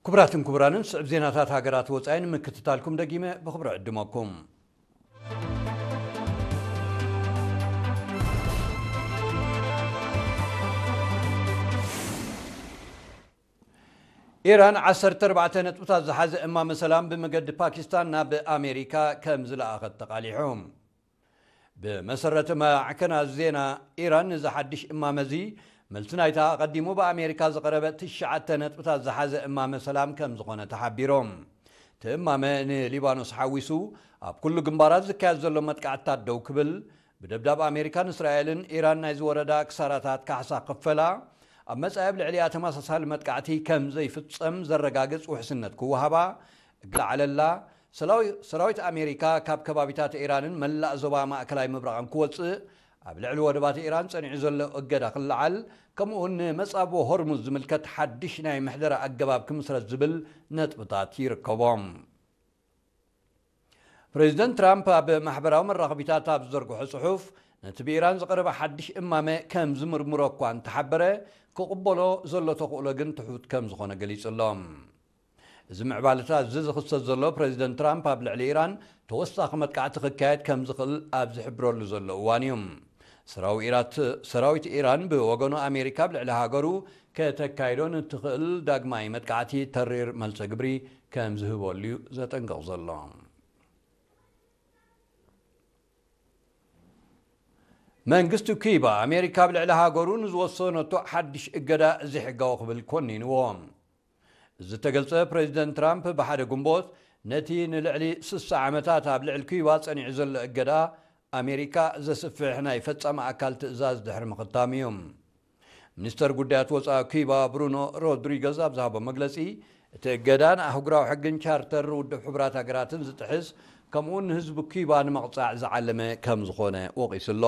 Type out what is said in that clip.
ክቡራትን ክቡራንን፣ ስዕብ ዜናታት ሃገራት ወጻኢ ንምክትታልኩም ደጊመ ብኽብሪ ዕድመኩም። ኢራን ዓሰርተ ኣርባዕተ ነጥብታት ዝሓዘ እማመ ሰላም ብመገዲ ፓኪስታን ናብ ኣሜሪካ ከም ዝለኣኸት ተቓሊሑ። ብመሰረት ማዕከናት ዜና ኢራን፣ እዚ ሓድሽ እማመ እዚ መልሲ ናይታ ኣቐዲሙ ብኣሜሪካ ዝቐረበ ትሽዓተ ነጥብታት ዝሓዘ እማመ ሰላም ከም ዝኾነ ተሓቢሮም። እቲ እማመ ንሊባኖስ ሓዊሱ ኣብ ኩሉ ግንባራት ዝካየድ ዘሎ መጥቃዕትታት ደው ክብል፣ ብደብዳብ ኣሜሪካን እስራኤልን ኢራን ናይ ዝወረዳ ክሳራታት ካሕሳ ክፈላ፣ ኣብ መጻኢ ኣብ ልዕሊኣ ተመሳሳሊ መጥቃዕቲ ከም ዘይፍጸም ዘረጋግጽ ውሕስነት ክወሃባ፣ እግላዓለላ፣ ሰላዊ-፣ ሰራዊት ኣሜሪካ ካብ ከባቢታት ኢራንን መላእ ዞባ ማእከላይ ምብራቕን ክወጽእ፣ ኣብ ልዕሊ ወደባት ኢራን ጸኒዑ ዘሎ እገዳ ክለዓል፣ ከምኡውን ንመጻብቦ ሆርሙዝ ዝምልከት ሓድሽ ናይ ምሕደራ ኣገባብ ክምስረት ዝብል ነጥብታት ይርከቦም። ፕሬዚደንት ትራምፕ ኣብ ማሕበራዊ መራኸቢታት ኣብ ዝዘርግሖ ጽሑፍ፣ ነቲ ብኢራን ዝቐረበ ሓድሽ እማመ ከም ዝምርምሮ እኳ እንተሓበረ፣ ክቕበሎ ዘሎ ተኽእሎ ግን ትሑት ከም ዝኾነ ገሊጹ ኣሎ። እዚ ምዕባለታት እዚ ዝኽሰት ዘሎ፣ ፕሬዚደንት ትራምፕ ኣብ ልዕሊ ኢራን ተወሳኺ መጥቃዕቲ ክካየድ ከም ዝኽእል ኣብ ዝሕብረሉ ዘሎ እዋን እዩ። ሰራዊ ኢራት-፣ ሰራዊት ኢራን ብወገኑ፣ ኣሜሪካ ኣብ ልዕሊ ሃገሩ ከተካይዶ ንትኽእል ዳግማይ መጥቃዕቲ ተሪር መልሰ ግብሪ ከም ዝህበሉ እዩ ዘጠንቅቕ ዘሎ። መንግስቲ ኩባ፣ ኣሜሪካ ኣብ ልዕሊ ሃገሩ ንዝወሰነቶ ሓድሽ እገዳ ዘይሕጋዊ ክብል ኮኒንዎ። እዚ ዝተገልጸ፣ ፕሬዚደንት ትራምፕ ብሓደ ግንቦት፣ ነቲ ንልዕሊ ስሳ ዓመታት ኣብ ልዕሊ ኩባ ጸኒዑ ዘሎ እገዳ ኣሜሪካ ዘስፍሕ ናይ ፈጻሚ ኣካል ትእዛዝ ድሕሪ ምኽታም እዩ። ሚኒስተር ጉዳያት ወጻኢ ኩባ ብሩኖ ሮድሪገዝ ኣብ ዝሃቦ መግለጺ፣ እቲ እገዳ ንኣህጉራዊ ሕግን ቻርተር ውድብ ሕቡራት ሃገራትን ዝጥሕስ፣ ከምኡውን ንህዝቢ ኩባ ንምቕጻዕ ዝዓለመ ከም ዝኾነ ወቒሱ ኣሎ።